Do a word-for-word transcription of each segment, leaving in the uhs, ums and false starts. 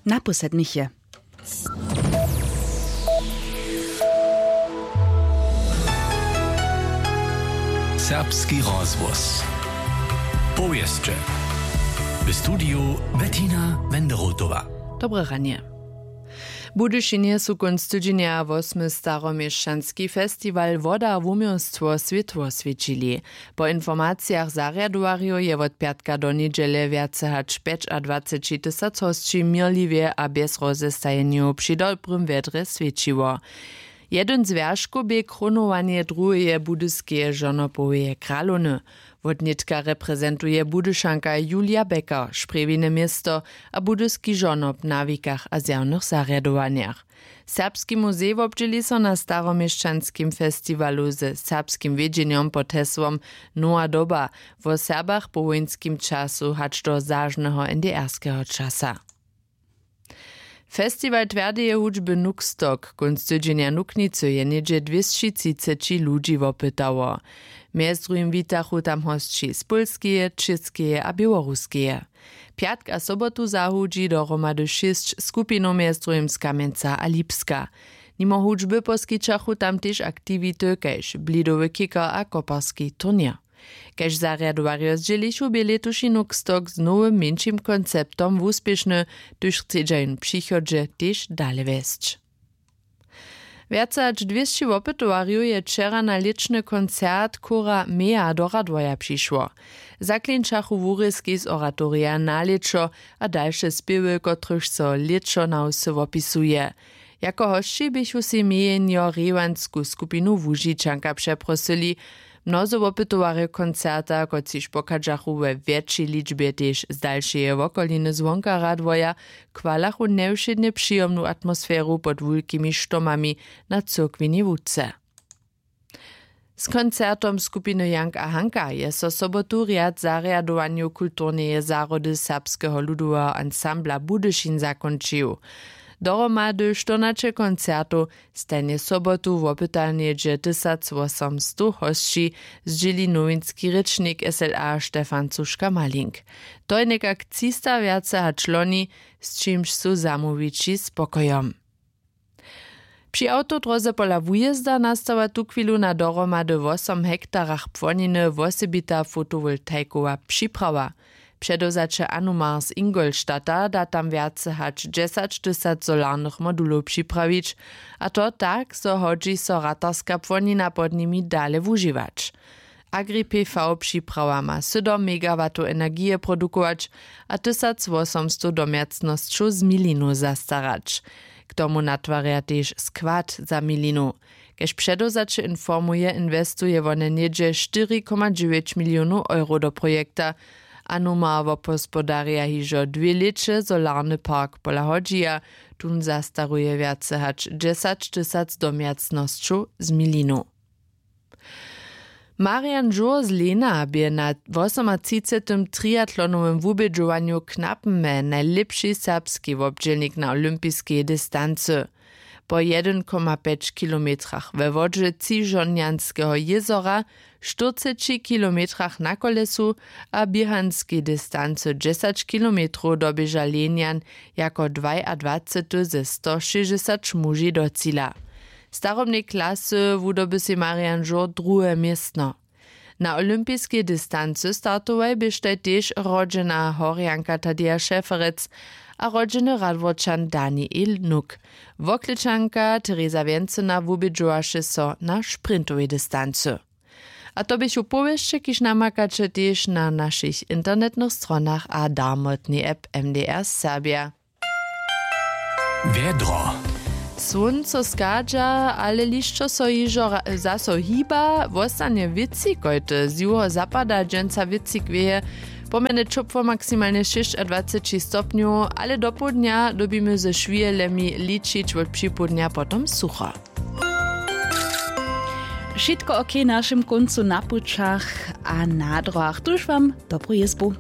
Na poslednich je. Serbski rozhłos. Powěsće. W studiju Bettina Wenderotowa. Dobre ranje. W Budyšinje su kónc tydźenja wosmy staroměšćanski festiwal Woda wuměłstwo swětło swěćili. Po informacijach zarjadowarjow je wot pjatka do njedźele wjace hač pjećadwaceći tysac hosći měrliwje a bjez rozestajenjow při dobrym wjedrje swěćiło. Jedyn z wjerškow bě krónowanje druheje budyskeje žonopoweje kralowny. Wotnětka reprezentuje Budyšanka Julia Becker, Sprjewine město a budyski žonop na wikach a zjawnych zarjadowanjach. Serbski muzej wobdźěli so na staroměšćanskim festiwalu ze serbskim wědźenjom pod hesłom Nowa doba, wo Serbach po wójnskim času hač do zažneho N D R-skeho časa. Festiwal twjerdeje hudźby Nuxtok kónc tydźenja Nuknicy je něhdźe dwěsći třiceći ludźi wopytało. Mjez druhim witachu tam hosći z Pólskeje, Čěskeje a Běłoruskeje. Pjatk a sobotu zahudźi dohromady šěsć skupinow, mjez druhim z Kamjenca a Lipska. Nimo hudźby poskićachu tam tež aktiwity kaž blidowy kicker a koparski turněr. Kaž zarjadowarjo zdźělichu, bě lětuši Nuxtok z nowym mjeńšim konceptom wuspěšny, hdyž chcedźa jón w přichodźe tež dale wjesć. Wjace hač dwěsći wopytowarjow je wčera na lěćny koncert chóra Mea do Radworja přišło. Zaklinčachu wurězki z oratorija Na lěćo a dalše spěwy, kotrychž so lěćo na wsy wopisuje. Jako hosći běchu sej mjejenjo Rěwansku skupinu Łužičanka přeprosyli. Mnozy wopytowarjow koncerta, kotřiž pochadźachu we wjetšej ličbje tež z dalšeje wokoliny zwonka Radworja, chwalachu njewšědnje přijomnu atmosferu pod wulkimi štomami na cyrkwinej łódce. Z koncertom skupiny Jank a Hanka je so sobotu rjad zarjadowanjow kulturneje zahrodu Serbskeho ludoweho ansambla Budyšin zakónčił. Dohromady štyrnaće koncertow, stajnje sobotu wopyta něhdźe tysacwosomstow hosći, zdźěli nowinski rěčnik S L A Stefan Cuška-Malink. To je někak třista wjace hač loni, z čimž su zamołwići spokojom. Při awtodróze pola wujězda nastawa tuchwilu na dohromady wosom hektarach płoniny wosebita fotowoltajkowa připrawa. Předewzaće Anumar z Ingolstadta da tam wjace hač dźesaćtysac solarnych modulow připrawić, a to tak, zo hodźi so ratarska płonina pod nimi dale wužiwać. Agri P V připrawa ma sydom megawatow energije produkować a tysacwosomstow domjacnosćow z milinu zastarać. K tomu natwarja tež skład za milinu. Kaž předewzaće informuje, inwestuje wone něhdźe štyri koma dźewjeć milionow euro do projekta. Anuma wobhospodarja hižo dwě lěće solarny park pola hodźija. Tón zastaruje wjace hač dźesaćtysac domjacnosćow z milinu. Marian Žur z Lena bě na wosomatřicetym triatlonowym wubědźowanju w Knapenmje najlěpši serbski wobdźělnik na olympiskej distancy. Po jedyn koma pjeć kilometrach we wodźe Třižonjanskeho jězora, štyrceći kilometrach na kolesu a běhanskej distancy dźesać kilometrow doběža Lenjan jako dwajadwacety ze sto šěsćdźesać muži do cila. W starobnej klasy wudoby sej Marian Žur druhe městno. Na olympiskej distancy startowaj běštaj tež rodźena Horjanka Tadeja Šeferec a rodźeny Radworčan Daniel Nuk. Woklečanka Tereza Wjencyna wubědźowaše so na sprintowej distancy. A to běchu powěsće, kiž namakaće tež na našich internetnych stronach a darmotnej app M D R Serbja. Wjedro. Słónco schadźa, ale hišćo so hižo ra- zaso hiba, wostanje wětřikojty z juhozapada, dźensa wětřik wěje, pomjeny ćopło maksimalnje šěsćadwaceći stopnjow, ale dopołdnja dyrbimy ze šwihelemi ličić, wot připołdnja potom sucho. Wšitko ok w našim kóncu na pućach a na dróhach. Tuž wam dobru jězbu.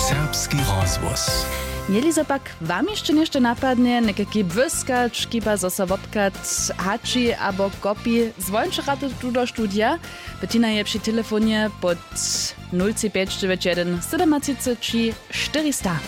Serbski rozhłos. Jeli zo pak wam hišće něšto napadnje, někajki błyskać, kiba zo so wobchad hači abo kopi, zwončerate tu do studija. Bettina je při telefonje pod nul tři pjeć dźewjeć jedyn sydomatřiceći štyrista.